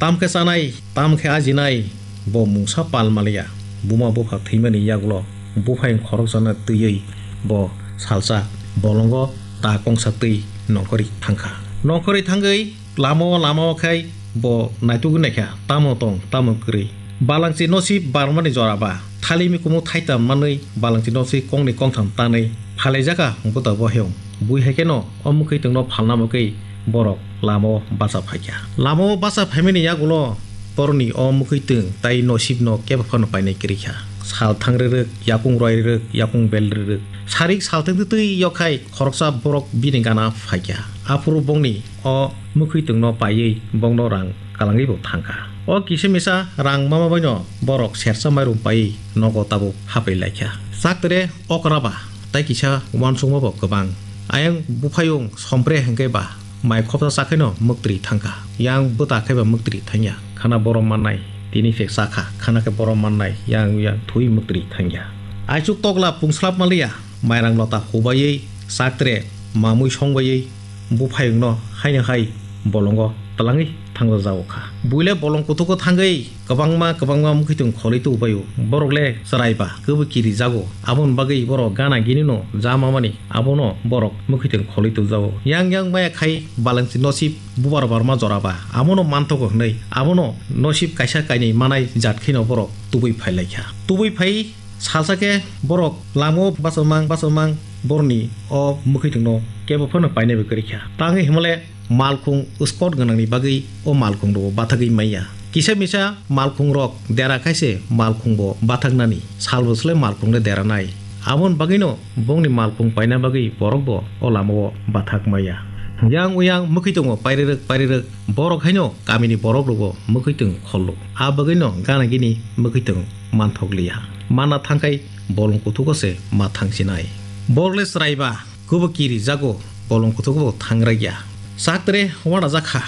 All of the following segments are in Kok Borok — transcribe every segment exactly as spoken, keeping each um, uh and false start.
Tamo khe chanai, tamo khe ajinai, bo mungsa pal maliya. Buma bupha thwimani yagulo buphayung khoroksano twiwi bo salsa bolongo ta kongsa twi nongkhorwi thangkha. Nongkhorwi thangwi lama o, lama o khai bo naitugwi naikha, tamo tong, tamo kwrwi. Balangchi nosip barmani jora ba, thali mikumu thaitam manwi balangchi nosip kongni kongtham tanwi phalaijaka buta boheyong. Bui hai kheno o mwkhwitwngno phalna bagwi borok lama o bacha phaikha. Lama o bacha phaimani yagulo borokni o mwkhwitwng tai nosipno kebo phano painai kwrwi kha. Sal thang rwrwk, yakung roi rwrwk, yakung bel rwrwk. Sarik sal thwng twi yokhai khoroksa borok bini gana phaikha. Aphuru bongni o mwkhwitwngno paiwi bongno rang kalangwi bo thangkha. O kisa misa rang mama baino borok sersa mairum paiwi nogo tabuk hapai laikha. Chaktere okra ba tai kisa uansukma bo kwbang. Ayang buphayung sompre hwnkhe ba mai khopsa chakhaino mwktwi thangkha. Yang bwta khaiba mwktwi thangya. Khana borom mannai tini se chakha. Khana khe borom mannai yang yang thwi mwktwi thangya. Aichuk tokla pungslap maliya. Mairang lota hubaiwi chaktre mamui songbaiwi buphayungno haino hai bolongo twlangwi thangjago kha. Buile bolong kutugo thangwi kwbangma kwbangma mwkhwitwng kholwi tubaio. Borok le chwraiba kwbwi kirijago. Aboni bagwi borok gana ginino ja mamani abono borok mwkhwitwng kholwi tujago. Yang yang maya khai balangchi nosip bubar barma joraba abono manthogo hwnwi abono nosip kaisa kainwi manai jat kheno borok tubui phailaikha. Tubui phai Salsa khe borok lama o bachomang bachomang borokni o mwkhwitwngno kebo phano painai bai kwrwi kha. Tangwi hwnmale malkhung spot gwnangni bagwi o malkhung rok bathagwi manya. Kisa misa malkhung rok dera khaise malkhung bo bathaknani sal bo swlai malkhung le dera nai. Aboni bagwino bongni malkhung paina bagwi borok bo o lama o bathak manya. Yang uyang mwkhwitwngo pairwrwk pairwrwk borok haino kamini borok rokbo mwkhwitwng khollo. A bagwino gana gini mwkhwitwng manthok liya. Mana thangkhai bolong kuthugo se ma thangsinai. Borok le chwraiba kwbo kirijago bolong kuthugo bo thangraiya. Chaktre wanajak kha.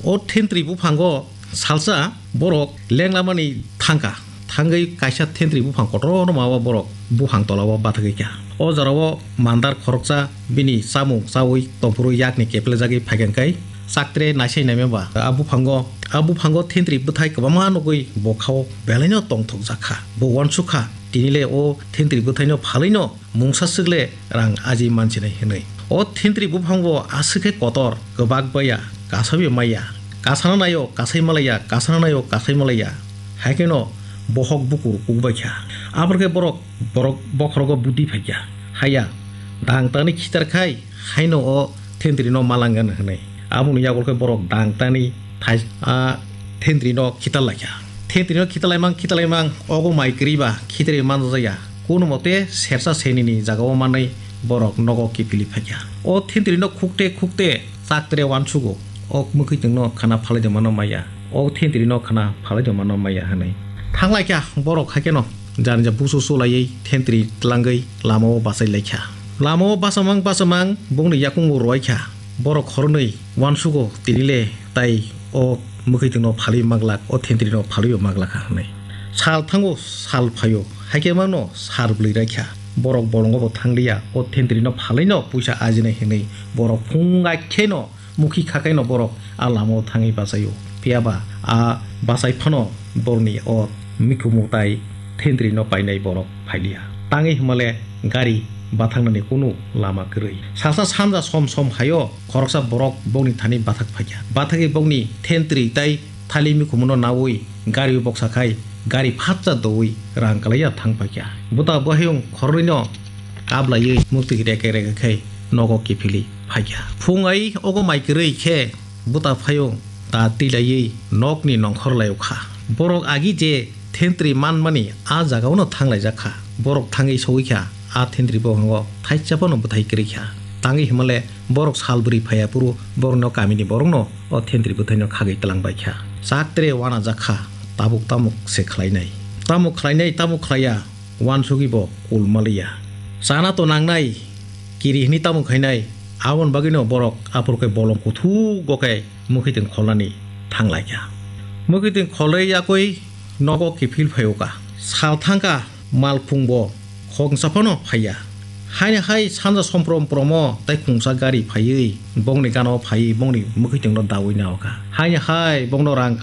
O thentri buphango salsa borok lenglamani thangkha. Thangwi kaisa thentri buphang kotorno ma o borok buphang tola o bathagwi kha. O jora o mandar khoroksa bini chamung chaui tongphuru yakni keplejagwi phaikha kai. Chaktre naisai naima ba a buphango, a buphango thentri bwthai kwbangma nugwi bo khao belaino tongthokjak kha. Bo uansuk kha, tini le o thentri bwthaino phalwino mungsa swk le rang aji mansinai hwnwi. O thentri buphang bo aswk khe kotor, kwbak baya, kasawi maya. Kasano naio, kasai malaya, kasano naio, kasai malaya. Hai kheno bohok bukur kukbai kha. Abor khe borok, borok bokhorogo budi phai kha. Haya, dang tani khitar khai, haino o thentrino malangyan hwnwi. Aboni yagul khe borok dang tani thai-, a thentrino khitar lai kha. Thentrino khitar laimang, khitar laimang, ogo mai kwrwi ba khitarwi manjaya. Kono mote sersa senini jagao manwi borok nogo kiphilwi phai kha. O thentrino khukte khukte chaktre uansugo. O mwkhwitwngno khana phalwi tongmano maya. O thentrino khana phalwi tongmano maya hwnwi. Thanglai kha borok hai kheno janija busu sulaiwi thentri tlangwi lamao bachai lai kha. Lamao bachamang bachamang bongni yakungo rwai kha. Borok khoroknwi uansugo tini le tai o mwkhwitwngno phalwi maglak, o thentrino phalwibo maglak kha hwnwi. Sal thango, sal phaio, hai khe mano sal bwlwi rai kha. Borok bolongo bo thangliya, o thentrino phalwino puisa ajinai hwnwi borok phung ai kheno mukhi kha kaino borok a lamao thangwi bachaio. Phiya ba a bachai phano borokni o mikhumu tai thentrino painai borok phailiya. Tangwi hwnmale gari bathaknani kunu lama kwrwi. Salsa sanja som som haio khoroksa borok bokni thani bathak phaikha. Bathagwi bokni thentri tai thali mikhumuno naui gari boksa khai gari phatsa doui rang kalaiya thang phaikha. Buta bwhayung khorwino kablaiwi muktwi reke reke khai nogo kiphilwi phaikha. Phung ai ogo mai kwrwi khe buta phayung ta twilaiwi nokni nongkhor laio kha. Borok agi je thentri manmani a jagaono thanglaijak kha. Borok thangwi sogwi kha, a thentri bophango thaisa phano bwthai kwrwi kha. Tangwi hwnmale borok sal bwrwi phaiya phuru borokno kamini borokno o thentri bwthaino khagwi twlang bai kha. Chak tre uanajak kha, tabuk tamuk se khlainai. Tamuk khlainai, tamuk khlaiya, uansugwi bo kul maliya. Chana to nangnai, kiri hwnwi tamo khainai, aboni bagwino borok aphuru khe bolong kuthugo khe mwkhwitwng kholnani thanglaikha. Mwkhwitwng kholwi yakwi nogo kiphil phaio ka. Sal thangkha malkhung bo khongsa phano phaiya. Haino hai sanja somprom promo tai khungsa gari phaiwi bongni gana o phaiwi bongni mwkhwitwngno daui nao ka. Haino hai bongno rang